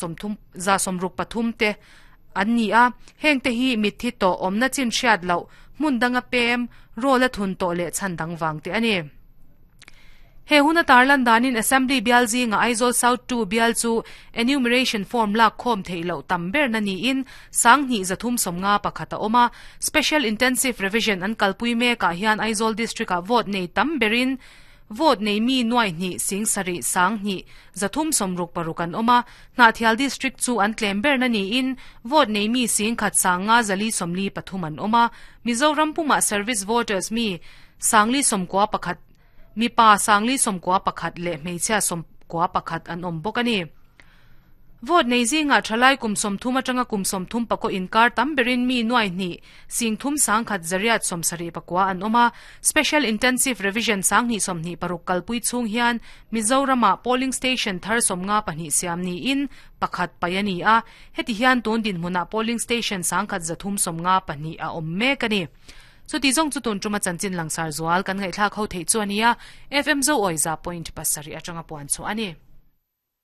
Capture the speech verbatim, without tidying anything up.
Sawmthum za sawmruk pathum te an ni a, heng te hi mitthi tawh awmna chin hriat loh hmun danga pem roll a thun tawh leh chhan dang vang te a ni. He huna tarlan danin Assembly bial zinga Aizawl South two bial chu enumeration form lak khawm theih loh tam ber na niin Sanghnih zathum sawmnga pakhat a awm a. Special Intensive Revision an kalpui mekah hian Aizawl District ah vote nei tam berin Vote nei mi nuai hnih sing sarih sang hnih zathum sawmruk paruk an awm a, Hnahthial District chu an tlem berna niin vote nei mi sing khat sang nga zali sawmli pathum an awm a, Mizoram pumah service voters mi sangli sawmkua pakhat mipa sangli sawmkua pakhat leh hmeichhia sawmkua pakhat an awm bawk a ni. Vote nei zingah thalai kum sawmthum atanga kum sawmthum pakaw inkar tam berin mi nuai hnih sing thum sangkhat zariat sawmsarih pakua an awm a. Special Intensive Revision sanghnih sawmhnih paruk kalpui chhung hian Mizoramah polling station thar sawmnga pahnih siam niin pakhat paih a ni a. Heti hian tun dinhmunah polling station sangkhat zathum sawmnga pahnih a awm mek a ni. Chuti zawng chu tun tuma chanchin langsar zual kan ngaihthlak ho theih chu a nia. F M Zo Awiza point pasarih atanga puan chhuah a ni.